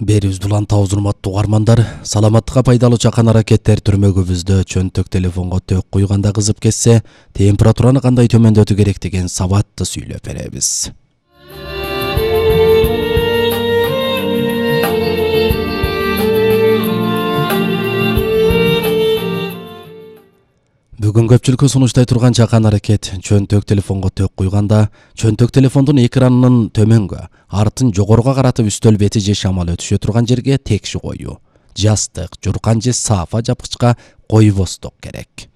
Берибизди улантабыз урматтуу угармандар. Саламаттыкка пайдалуу чакан аракеттер түрмөгүбүздө чөнтөк телефонго төк куйганда кызып кетсе, температураны кандай төмөндөтүү керек деген сабатты сүйлөп беребиз. Бүгүн көпчүлүккө сунуштай турган чакан аракет чөнтөк телефонго төк куйганда чөнтөк телефондун экранынын төмөнгө, артын жогоруга каратып үстөл бети же шамал өтүшө турган жерге текши коюу, жастык, журкан же саафа жапкычка койбостук керек.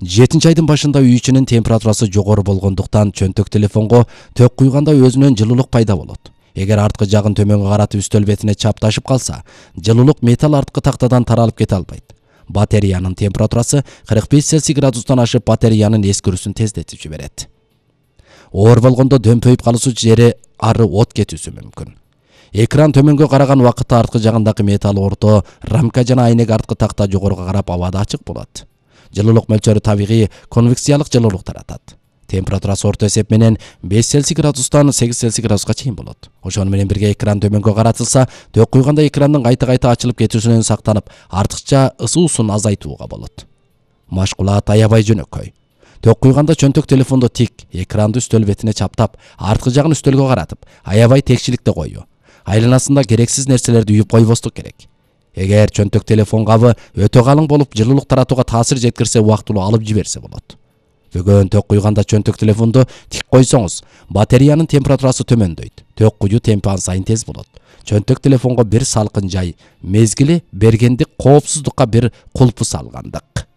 7-айдын башында үй ичинин температурасы жогору болгондуктан чөнтөк телефонго төк куйганда өзүнөн жылуулук пайда болот. Эгер арткы жагын төмөнгө каратып үстөл бетине чапташып калса, жылуулук металл арткы тактадан таралып кете албайт. Батареянын температурасы 45 Цельсий градустан ашып батареянын эскирүүсүн тездетип жиберет. Оор болгондо дөмпөйүп калуусу жери ары от кетүүсү мүмкүн. Экран төмөнгө караган убакытта арткы жагындагы металл орто, рамка жана айнек арткы такта жогоруга карап абада ачык болот. Жылуулук мөлчөрү табигый конвекциялык жылуулук таратат. Температурасы орто эсеп менен 5 Цельсий градустан 8 Цельсий градуска чейин болот. Ошону менен бирге экран төмөнгө каратылса, төк куйганда экрандын кайта ачылып кетүүсүнөн сактанып, артыкча ысуусун азайтууга болот. Машкулат аябай жөнөкөй. Төк куйганда чөнтөк телефондо тик, экранды үстөл бетине чаптап, арткы жагын үстөлгө каратып, аябай текшиликте коюу. Айланасында керексиз нерселерди үйүп койбостук керек. Эгер чөнтөк телефон кабы өтө калың болуп, жылуулук таратууга таасир жеткирсе, убактылуу алып жиберсе болот. Бүгүн төк куйганда чөнтөк телефонду тик койсоңуз, батареянын температурасы төмөндөйт. Төк куюу темпи сайын тез болот. Чөнтөк телефонго бир салкын жай, мезгили бергендик, коопсуздукка бир кулпу салгандык.